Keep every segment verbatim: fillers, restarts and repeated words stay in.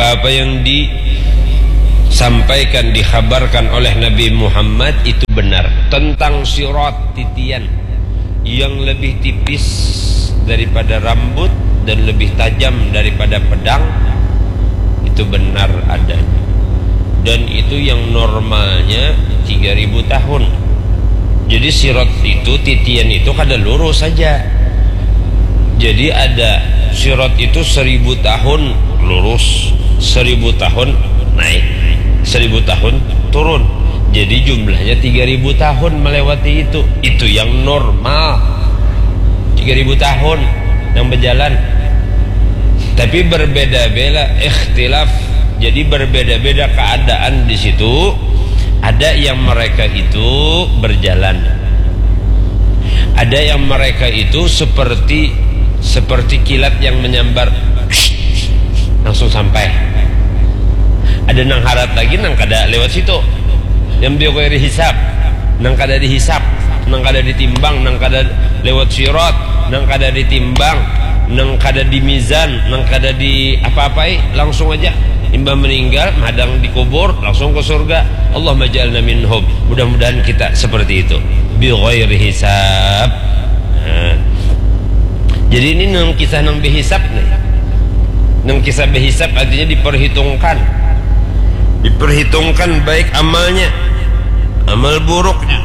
Apa yang disampaikan, dikhabarkan oleh Nabi Muhammad itu benar tentang sirat, titian yang lebih tipis daripada rambut dan lebih tajam daripada pedang. Itu benar adanya. Dan itu yang normalnya tiga ribu tahun. Jadi sirat itu, titian itu kada lurus saja. Jadi ada sirat itu seribu tahun lurus, seribu tahun naik, seribu tahun turun. Jadi jumlahnya tiga ribu tahun melewati itu. Itu yang normal. Tiga ribu tahun yang berjalan. Tapi berbeda-beda, ikhtilaf. Jadi berbeda-beda keadaan di situ. Ada yang mereka itu berjalan. Ada yang mereka itu seperti seperti kilat yang menyambar, langsung sampai. Ada nang harat lagi, nang kada lewat situ. Yang biar hisab, nang kada dihisab, nang kada ditimbang, nang kada lewat sirat, nang kada ditimbang, nang kada dimizan, nang kada di apa-apai, langsung aja. Imbah meninggal, madang dikubur, langsung ke surga. Allahumma ja'alna minhum. Mudah-mudahan kita seperti itu. Bi ghairi hisab. Nah. Jadi ini nang kisah nang behisab nih. Nang kisah behisab artinya diperhitungkan. Diperhitungkan baik amalnya, amal buruknya.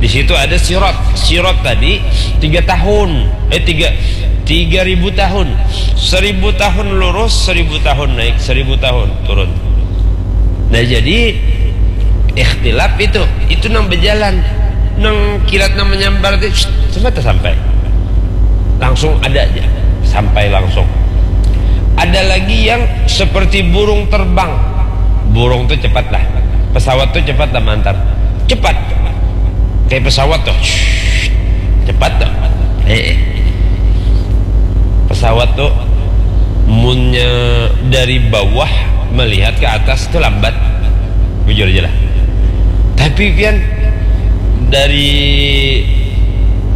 Di situ ada sirat. Sirat tadi tiga tahun, eh tiga tiga ribu tahun, seribu tahun lurus, seribu tahun naik, seribu tahun turun. Nah jadi ikhtilaf itu, itu nang berjalan, nang kilat nang menyambar itu semata sampai langsung ada aja, sampai langsung. Ada lagi yang seperti burung terbang. Burung tuh cepat lah, pesawat tuh cepat lah mantar, cepat kayak pesawat tuh. Cepat tuh. Eh, eh. Pesawat tuh munnya dari bawah melihat ke atas tuh lambat. Bujur aja lah. Tapi pian dari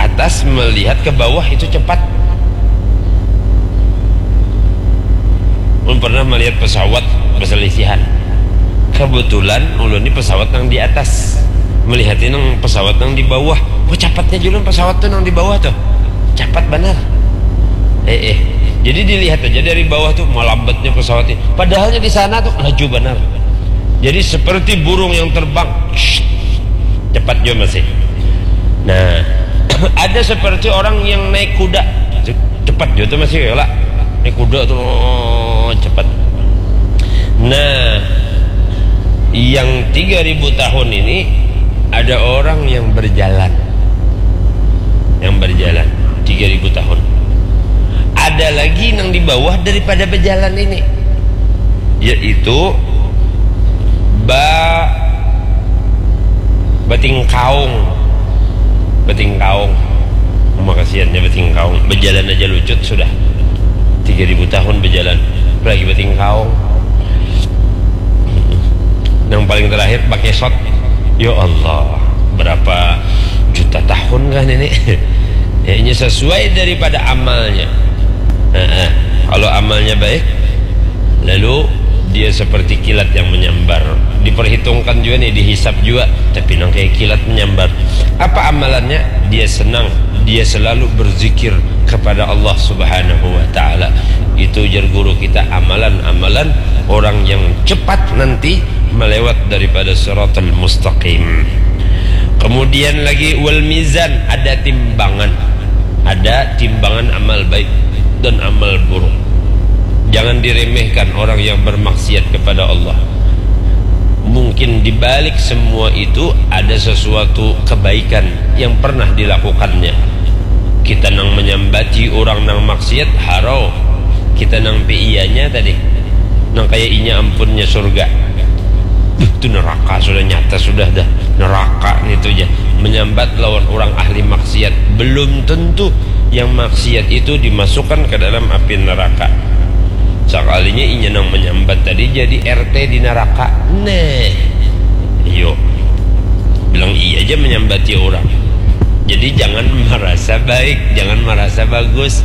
atas melihat ke bawah itu cepat. Ulun pernah melihat pesawat berselisihan. Kebetulan ulun ini pesawat yang di atas, melihatnya nang pesawat yang di bawah. Wah, capatnya juga pesawat tuh yang di bawah tuh. Capat benar. Eh, eh. Jadi dilihat aja dari bawah tuh, melambatnya pesawatnya. Padahalnya di sana tuh laju benar. Jadi seperti burung yang terbang. Cepat juga masih. Nah, ada seperti orang yang naik kuda. Cepat juga tuh masih ya lah. Naik kuda tuh, oh, cepat. Nah, yang tiga ribu tahun ini ada orang yang berjalan. Yang berjalan tiga ribu tahun. Ada lagi yang di bawah daripada berjalan ini. Yaitu ba batingkaung. Batingkaung. Makasiannya batingkaung. Berjalan aja lucut sudah. Tiga ribu tahun berjalan. Lagi batingkaung. Yang paling terakhir pakai shot. Ya Allah, berapa juta tahun kan ini? Ya, ini sesuai daripada amalnya. Nah, kalau amalnya baik, lalu dia seperti kilat yang menyambar. Diperhitungkan juga nih, dihisap juga. Tapi nang kayak kilat menyambar. Apa amalannya? Dia senang, dia selalu berzikir kepada Allah Subhanahu wa Ta'ala. Itu ujar guru kita, amalan-amalan orang yang cepat nanti melewat daripada siratal mustaqim. Kemudian lagi, wal mizan, ada timbangan. Ada timbangan amal baik dan amal buruk. Jangan diremehkan orang yang bermaksiat kepada Allah. Mungkin di balik semua itu ada sesuatu kebaikan yang pernah dilakukannya. Kita nang menyambati orang nang maksiat, harau. Kita nang pi iyanya tadi, nang kaya inya ampunnya surga. Duh, tu neraka sudah nyata sudah dah. Neraka nitu ja. Menyambat lawan orang ahli maksiat belum tentu yang maksiat itu dimasukkan ke dalam api neraka. Sakalinya inya nang menyambat tadi jadi R T di neraka. Neh. Iyo. Bilang iya aja menyambati orang. Jadi jangan merasa baik, jangan merasa bagus.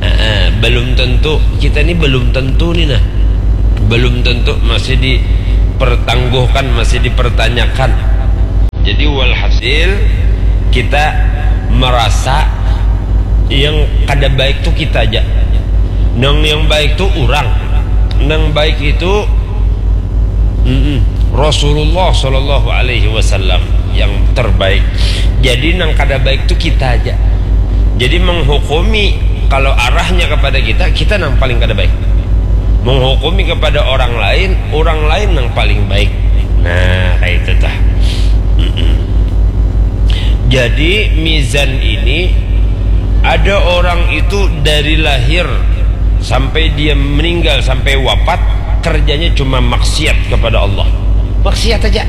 Heeh, belum tentu, kita ni belum tentu ni nah. Belum tentu, masih dipertangguhkan, masih dipertanyakan. Jadi walhasil, kita merasa yang kada baik tu kita aja. Nang yang baik tu urang. Nang baik itu, mm-mm, Rasulullah Shallallahu Alaihi Wasallam yang terbaik. Jadi nang kada baik tu kita aja. Jadi menghukumi, kalau arahnya kepada kita, kita nang paling kada baik. Menghukumi kepada orang lain, orang lain nang paling baik. Nah, kayak itu tah. Mm-mm. Jadi mizan ini, ada orang itu dari lahir sampai dia meninggal, sampai wafat, kerjanya cuma maksiat kepada Allah. Maksiat aja.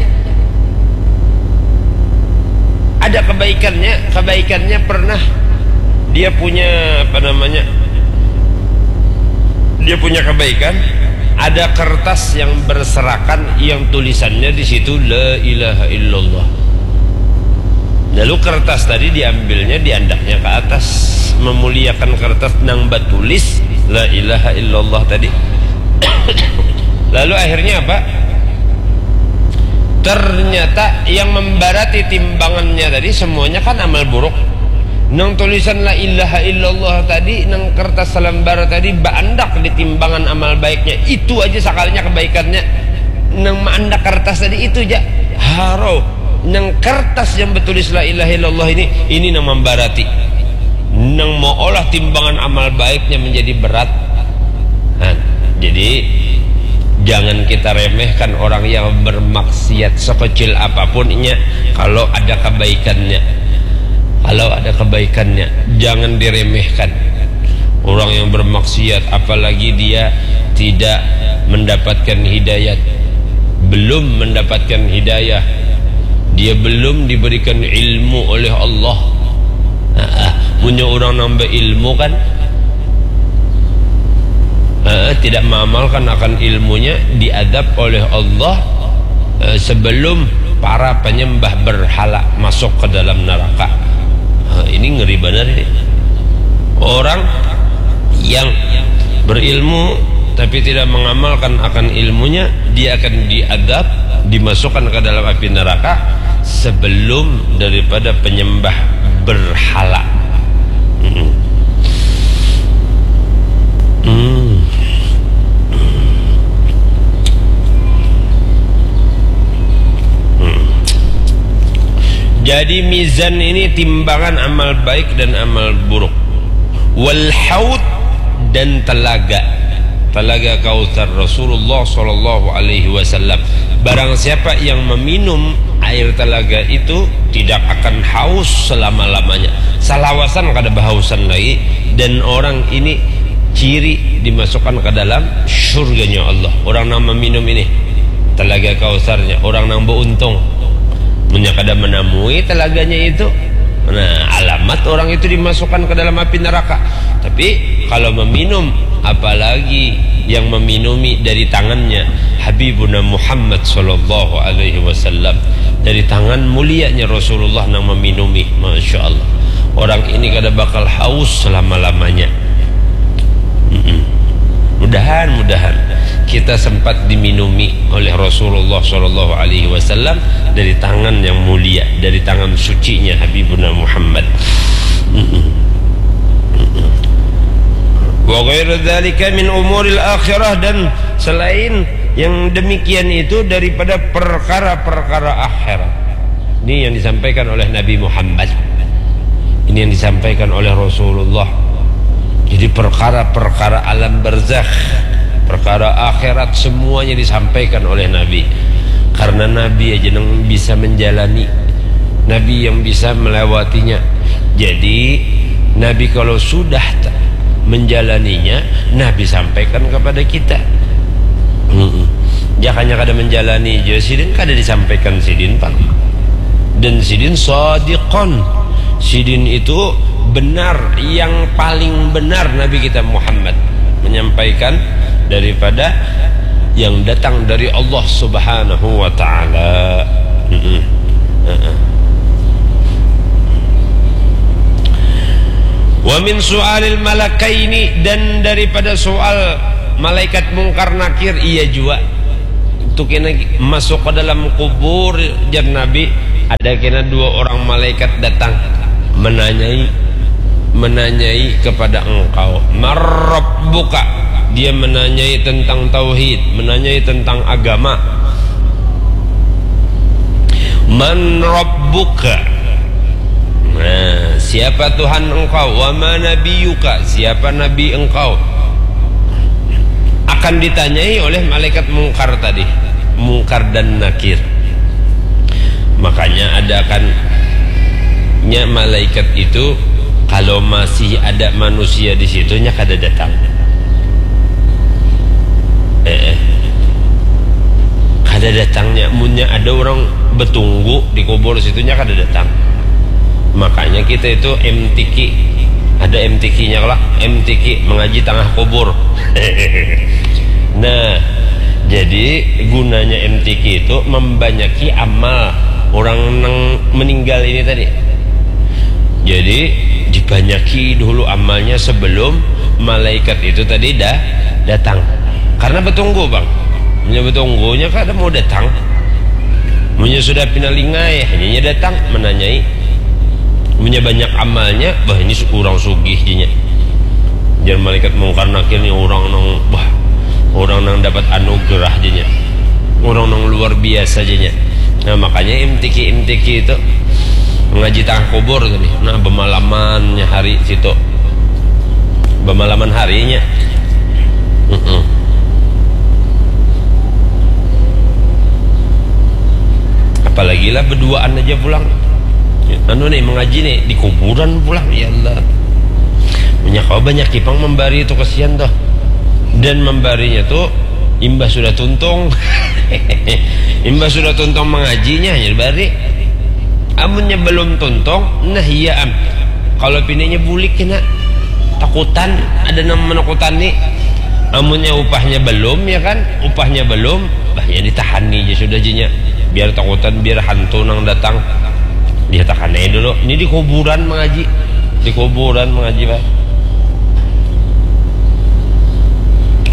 Ada kebaikannya, kebaikannya pernah dia punya, apa namanya, dia punya kebaikan, ada kertas yang berserakan, yang tulisannya di situ la ilaha illallah. Lalu kertas tadi diambilnya, diandaknya ke atas, memuliakan kertas nang batulis la ilaha illallah tadi. Lalu akhirnya apa? Ternyata yang membarati timbangannya tadi semuanya kan amal buruk. Nang tulisan la ilaha illallah tadi, nang kertas salambar tadi, baandak di timbangan amal baiknya. Itu aja sakalinya kebaikannya. Nang maandak kertas tadi itu aja. Haro. Nang kertas yang bertulis la ilaha illallah ini, ini nang membarati. Nang mau olah timbangan amal baiknya menjadi berat. Nah, jadi jangan kita remehkan orang yang bermaksiat sekecil apapun inya, kalau ada kebaikannya. Kalau ada kebaikannya, jangan diremehkan. Orang yang bermaksiat, apalagi dia tidak mendapatkan hidayat, belum mendapatkan hidayah, dia belum diberikan ilmu oleh Allah. Nah, punya orang nambah ilmu kan, eh, tidak mengamalkan akan ilmunya, diadab oleh Allah, eh, sebelum para penyembah berhala masuk ke dalam neraka. Eh, ini ngeri benar ini. Orang yang berilmu tapi tidak mengamalkan akan ilmunya, dia akan diadab, dimasukkan ke dalam api neraka sebelum daripada penyembah berhala. Mm-mm. Hmm. Hmm. Jadi mizan ini timbangan amal baik dan amal buruk. Wal haud, dan telaga. Telaga Kautsar Rasulullah sallallahu alaihi wasallam. Barang siapa yang meminum air telaga itu tidak akan haus selama-lamanya. Salawasan kada bahausan lagi, dan orang ini ciri dimasukkan ke dalam surganya Allah. Orang nang meminum ini telaga Kautsarnya, orang nang beruntung. Munnya kada menamui telaganya itu, nah, alamat orang itu dimasukkan ke dalam api neraka. Tapi kalau meminum, apalagi yang meminumi dari tangannya Habibuna Muhammad sallallahu alaihi wasallam, dari tangan mulianya Rasulullah nang meminumi, masya Allah, orang ini kada bakal haus selama-lamanya. Mm-mm. Mudahan, mudahan kita sempat diminumi oleh Rasulullah sallallahu alaihi wasallam dari tangan yang mulia, dari tangan sucinya Habibuna Muhammad. Mm-mm. Mm-mm. Wa ghairu dzalika min umuril akhirah, dan selain yang demikian itu daripada perkara-perkara akhirat. Ini yang disampaikan oleh Nabi Muhammad. Ini yang disampaikan oleh Rasulullah. Jadi perkara-perkara alam barzakh, perkara akhirat, semuanya disampaikan oleh Nabi. Karena Nabi aja yang bisa menjalani, Nabi yang bisa melewatinya. Jadi Nabi kalau sudah t-, menjalaninya, Nabi sampaikan kepada kita. Mm-mm. Jakanya kada menjalani je, sidin kada disampaikan sidin pang. Dan sidin sadiqon. Sidin itu benar, yang paling benar Nabi kita Muhammad menyampaikan daripada yang datang dari Allah Subhanahu wa taala. Mm-mm. Heeh. Wa min su'alil malakaini, dan daripada soal Malaikat Mungkar Nakir, iya jua. Itu kena masuk ke dalam kubur, jar Nabi, ada kena dua orang malaikat datang menanyai, menanyai kepada engkau, "Man rabbuka?" Dia menanyai tentang tauhid, menanyai tentang agama. "Man rabbuka?" Nah, siapa Tuhan engkau? "Wa ma nabiyuka?" Siapa nabi engkau? Akan ditanyai oleh malaikat Mungkar tadi, Mungkar dan Nakir. Makanya ada kan nya malaikat itu, kalau masih ada manusia di situ, nya kada datang. Eh, eh. Kada datangnya, munnya ada orang betunggu di kubur situ, nya kada datang. Makanya kita itu M T Q, ada M T Q-nya lah, M T Q, mengaji tangah kubur. Nah, jadi gunanya M T Q itu membanyaki amal orang nang meninggal ini tadi. Jadi, dibanyaki dulu amalnya sebelum malaikat itu tadi dah datang. Karena betunggu, Bang. Munnya betunggunya kada mau datang. Munnya sudah pina lingai, hanyanya datang menanyai. Munnya banyak amalnya, bah, ini su-, urang sugih, janya. Jar malaikat Mungkar Nakir ni urang nang, bah, urang nang dapat anugerah, janya. Urang nang luar biasa, janya. Nah, makanya M T Q, M T Q itu mengaji tangah kubur tadi. Nah, bemalamannya hari situ. Bemalaman harinya. Mm-mm. Apalagi lah beduaan aja pulang. Anu nih, mengaji nih di kuburan pulang, ya Allah. Punya kau banyak kipang membari itu, kesian tuh. Dan membarinya tuh imbah sudah tuntung. Imbah sudah tuntung mengajinya hanya dibari. Amunnya belum tuntung, nah iya am. Kalau pinanya bulik kena takutan, ada nang menakutani. Amunnya upahnya belum, ya kan? Upahnya belum, bah, ya ditahani aja sudah, janya. Biar takutan, biar hantu nang datang. Dia takanai dulu. Ini di kuburan mengaji. Di kuburan mengaji, Pak.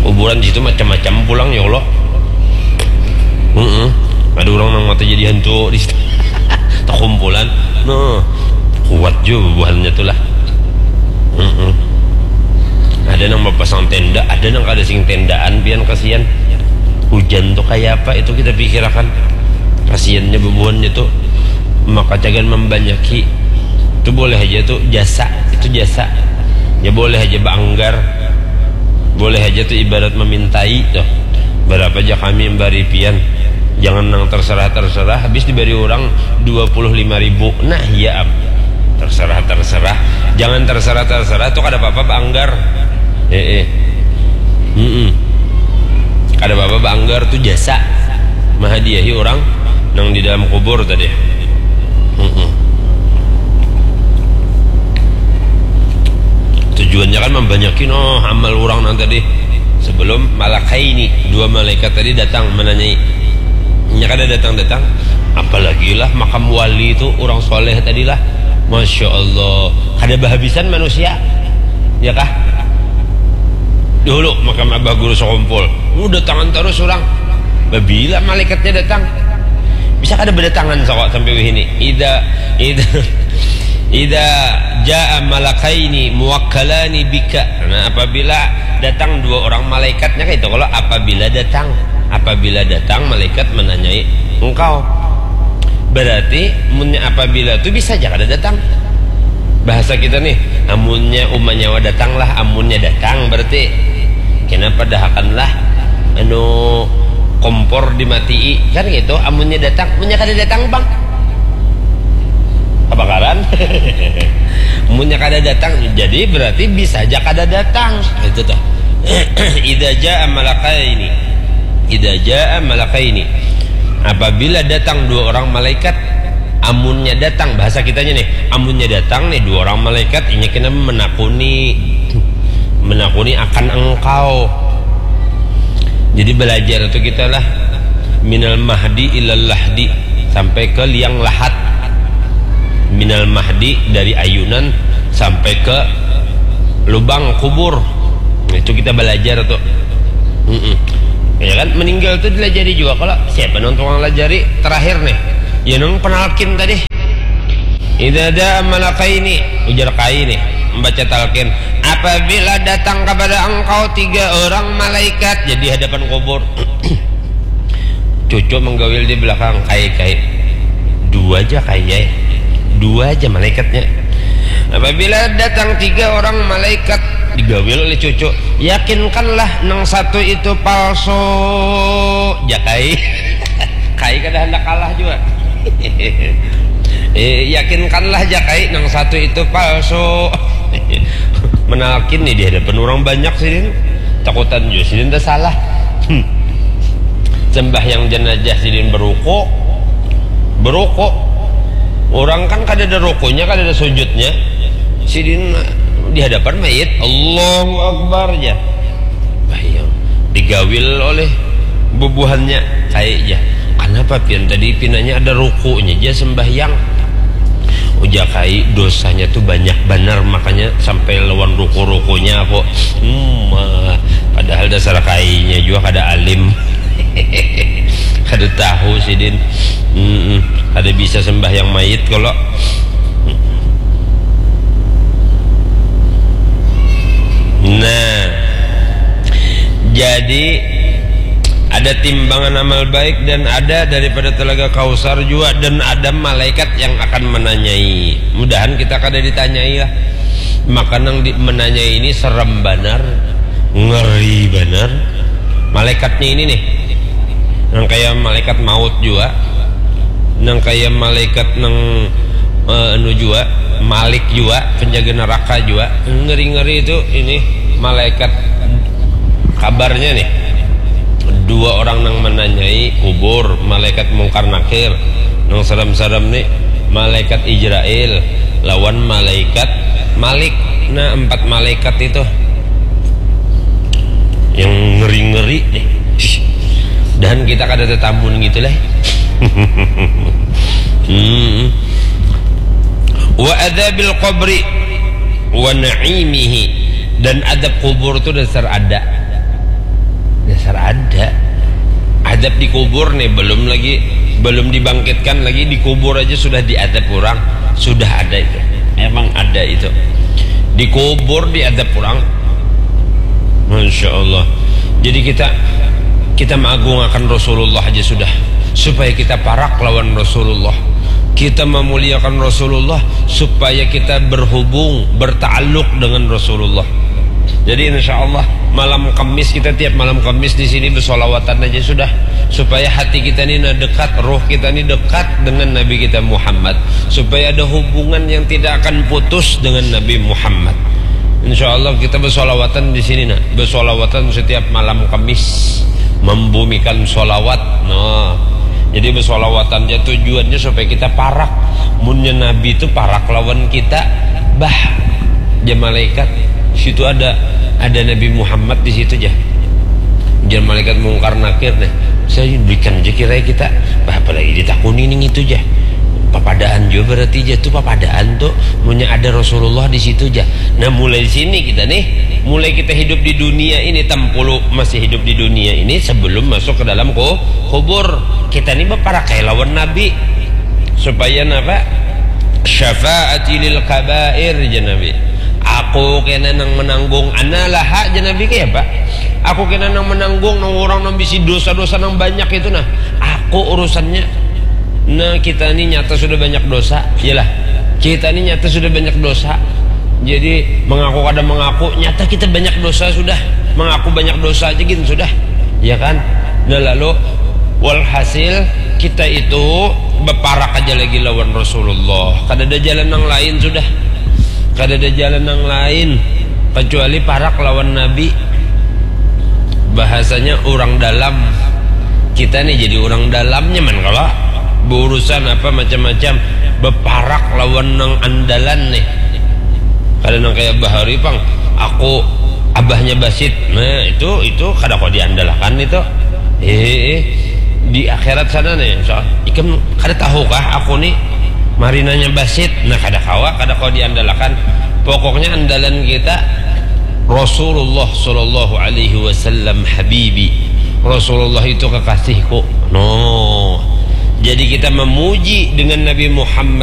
Kuburan di situ macam-macam pulang, ya Allah. Mm-mm. Ada orang nang mata jadi hantu di situ. Takumpulan. Nah, kuat juga bubuhannya tuh lah. Mm-mm. Ada nang mapasang tenda, ada nang kada sing tendaan, pian kasihan. Hujan tuh kayak apa itu kita pikirakan. Kasihannya bubuhannya tuh. Maka cagan membanyaki. Itu boleh aja tuh jasa, itu jasa. Ya boleh aja baanggar. Boleh aja tuh ibarat memintai tuh. Berapa aja kami membari pian. Jangan nang terserah-terserah, habis diberi orang dua puluh lima ribu. Nah, iya am. Terserah-terserah. Jangan terserah-terserah tuh kada apa-apa baanggar. Eh, eh. Mm-mm. Kada apa-apa baanggar tuh jasa. Mahadiahi orang nang di dalam kubur tadi. Mm-mm. Tujuannya kan membanyakin, oh, amal orang nang tadi. Sebelum malakaini, dua malaikat tadi datang menanyai. Nya kada datang-datang, apalagi lah makam wali itu, orang soleh tadi lah. Masya Allah, kada bahabisan manusia, ya kah? Dulu makam Abah Guru Sekumpul, uh, datangan terus orang. Babila malaikatnya datang? Bisa kada berdatangan, sokok, sampai wihini? Ida, ida, ida jaa malakaini muwakkalani bika. Nah, apabila datang dua orang malaikatnya kayak itu, kalau apabila datang, apabila datang malaikat menanyai engkau, berarti munnya apabila tu bisa aja kada datang. Bahasa kita nih, amunnya uma nyawa datang lah, amunnya datang berarti. Kenapa dahakan lah, anu, kompor dimatii, kan gitu. Amunnya datang, munnya kada datang, Bang, kebakaran. Munnya kada datang, jadi berarti bisa aja kada datang. Itu tuh. Ida jaa malakaini. Ida jaa malakaini. Apabila datang dua orang malaikat, amunnya datang, bahasa kitanya nih, amunnya datang nih dua orang malaikat, inya kena menakuni, menakuni akan engkau. Jadi belajar itu kita lah, minal mahdi ilal lahdi, sampai ke liang lahat. Minal mahdi, dari ayunan sampai ke lubang kubur. Itu kita belajar tuh. Mm-mm. Ya kan, meninggal tu dilajari juga. Kalau siapa nang tukang lajari terakhir nih? Ya, nang penalkin tadi. Idza da'a malakaini, ujar Kai nih, membaca talqin. Apabila datang kepada engkau tiga orang malaikat, jadi hadapan kubur. Cucu menggawil di belakang, Kai, Kai. Dua aja, Kai, ya. Dua aja malaikatnya. Apabila datang tiga orang malaikat, digawil oleh cucu, yakinkanlah nang satu itu palsu. Jakai. Kai kada hendak kalah juga. Eh, yakinkanlah, Jakai, nang satu itu palsu. Menalkin nih di hadapan orang banyak sidin. Takutan juga sidin dah salah. Hmm. Sembahyang jenazah sidin beruku. Beruku. Orang kan kada ada rukunya, kada ada sujudnya. Sidin di hadapan mayit, Allahu Akbar aja. Bayang, digawil oleh bubuhannya, Kai, ya. Kenapa pian tadi pinanya ada rukunya aja sembahyang? Ujar Kai, dosanya tuh banyak banar, makanya sampai lawan ruku-rukunya aku. Hmm, ah, padahal dasar Kainya juga kada alim. Kada tahu sidin. Mm-mm. Kada bisa sembahyang mayit kalau. Nah, jadi ada timbangan amal baik dan ada daripada Telaga Kausar juga, dan ada malaikat yang akan menanyai. Mudahan kita kada ditanyai lah. Maka nang di, menanyai ini serem banar, ngeri banar. Malaikatnya ini nih, nang kayak malaikat maut juga, nang kayak malaikat nang, eh, anu juga, Malik juga, penjaga neraka juga. Ngeri-ngeri itu ini malaikat. Kabarnya nih, dua orang nang menanyai kubur, malaikat Mungkar Nakir. Nang serem-serem nih, malaikat Ijrail lawan malaikat Malik. Nah, empat malaikat itu yang ngeri-ngeri nih. Dan kita kada tetamun gitu lah. Hmm. Wa adzabil qabri wa na'imihi. Dan adab kubur tuh dasar ada. Dasar ada. Adab di kubur nih, belum lagi, belum dibangkitkan lagi, di kubur aja sudah diadab orang. Sudah ada itu. Emang ada itu. Di kubur diadab orang. Masya Allah. Jadi kita, kita mengagungakan Rasulullah aja sudah, supaya kita parak lawan Rasulullah. Kita memuliakan Rasulullah supaya kita berhubung, bertaaluk dengan Rasulullah. Jadi insya Allah malam Kamis kita, tiap malam Kamis di sini bersolawatan aja sudah, supaya hati kita ini nah dekat, roh kita ini dekat dengan Nabi kita Muhammad, supaya ada hubungan yang tidak akan putus dengan Nabi Muhammad. Insya Allah kita bersolawatan di sini nah, bersolawatan setiap malam Kamis, membumikan solawat. Nah, jadi bersolawatan aja tujuannya supaya kita parak. Munnya Nabi itu parak lawan kita, bah, dia malaikat. Situ ada, ada Nabi Muhammad di situ aja. Dia malaikat Mungkar Nakir nih. Saya berikan aja kira kita. Bah, apalagi ditakuni nih itu aja. Papadaan juga berarti aja tuh, papadaan tuh. Munnya ada Rasulullah di situ aja. Nah, mulai sini kita nih, mulai kita hidup di dunia ini, tampulu masih hidup di dunia ini sebelum masuk ke dalam ku-, kubur. Kita nih berparakai lawan Nabi. Supaya napa? Syafaati lil kabair, jar Nabi. Aku kena nang menanggung, ana laha, jar Nabi, kaya apa? Aku kena nang menanggung nang orang nang bisi dosa-dosa nang banyak itu nah. Aku urusannya. Nah, kita ini nyata sudah banyak dosa, iyalah. Kita ini nyata sudah banyak dosa. Jadi mengaku kada mengaku, nyata kita banyak dosa sudah. Mengaku banyak dosa aja gin sudah, ya kan? Nah, lalu walhasil kita itu beparak aja lagi lawan Rasulullah. Kada ada jalan nang lain sudah. Kada ada jalan nang lain kecuali parak lawan Nabi. Bahasanya orang dalam. Kita nih jadi orang dalam nyaman kalau berurusan apa macam-macam, beparak lawan nang andalan nih. Kada nang kayak bahari pang, aku abahnya Basit. Nah, itu, itu kada kau diandalkan itu. Eh, di akhirat sana nih, soal ikam kada tahu kah aku nih marinanya Basit? Nah, kada kawa, kada kau diandalkan. Pokoknya andalan kita Rasulullah sallallahu alaihi wasallam habibi. Rasulullah itu kekasihku. No. Jadi kita memuji dengan Nabi Muhammad